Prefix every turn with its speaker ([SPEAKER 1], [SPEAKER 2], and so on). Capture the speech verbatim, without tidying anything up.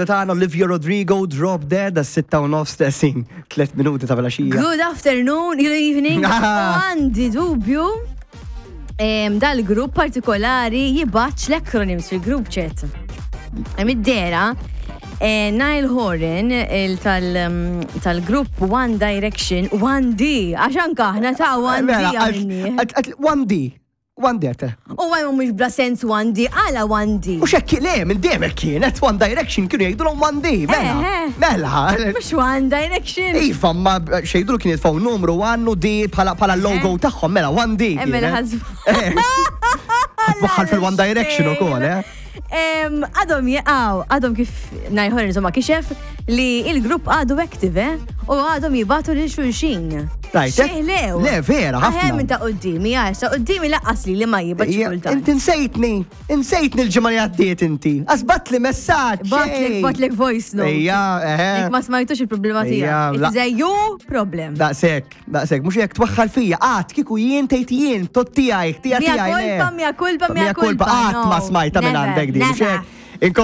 [SPEAKER 1] Tagħna Olivia Rodrigo, Drop Dead, għas-sitta u nofs tessin, tliet minuti ta' filgħaxija.
[SPEAKER 2] Good afternoon, good evening. U għandi dubju em, dal-grupp partikolari jibgħatx l-acronyms fil-group chat. Hemm id-dera, eh, Niall Horan il tal, mm, tal-grupp One Direction, one D, għax anka aħna ta' one D
[SPEAKER 1] Mela,
[SPEAKER 2] għamilni.
[SPEAKER 1] għalt- għalt- one D. one D għate.
[SPEAKER 2] U għaj mhux bla sens one D, għala one D.
[SPEAKER 1] U xekki, le, minn dejjem kienet One Direction kienu jgħidu one D, mela.
[SPEAKER 2] Eh, eh.
[SPEAKER 1] Mela.
[SPEAKER 2] Mhux One Direction.
[SPEAKER 1] Iva, ma xejdu kien jitfaw numru one u D bħala bħala logo tagħhom, mela one D.
[SPEAKER 2] Eh, mela
[SPEAKER 1] kienet.
[SPEAKER 2] ħazbu.
[SPEAKER 1] Waħħal fil-One Direction ukoll, eh?
[SPEAKER 2] Em, Għadhom jaqaw, għadhom kif Niall Horan insomma kixef li il-grupp għadu active, eh? U għadhom jibagħtu lil xulxin.
[SPEAKER 1] Right, eh?
[SPEAKER 2] Xeħlew.
[SPEAKER 1] Le, vera, ħafna.
[SPEAKER 2] Aħem minn ta' qoddimi, għax ta' qoddimi laqqas li li ma jibgħatx
[SPEAKER 1] Ija,
[SPEAKER 2] kultant.
[SPEAKER 1] Inti nsejtni, insejtni l-ġimgħa li għaddiet inti. Asbat li messaġġ.
[SPEAKER 2] Batlek,
[SPEAKER 1] ej.
[SPEAKER 2] batlek voice note.
[SPEAKER 1] Ejja, eħe.
[SPEAKER 2] Jekk ma smajtux il-problema
[SPEAKER 1] Ejja,
[SPEAKER 2] tiegħek.
[SPEAKER 1] la-
[SPEAKER 2] It is a you problem.
[SPEAKER 1] Daqsek, daqsek, mux jek twaħħal fija, għat, kiku jien tejt jien, tot tijaj, tija
[SPEAKER 2] Mia
[SPEAKER 1] tijaj.
[SPEAKER 2] culpa, mia culpa, mia culpa.
[SPEAKER 1] Għat ma
[SPEAKER 2] No,
[SPEAKER 1] smajta minn
[SPEAKER 2] never,
[SPEAKER 1] għandek di, mux
[SPEAKER 2] never.
[SPEAKER 1] hekk.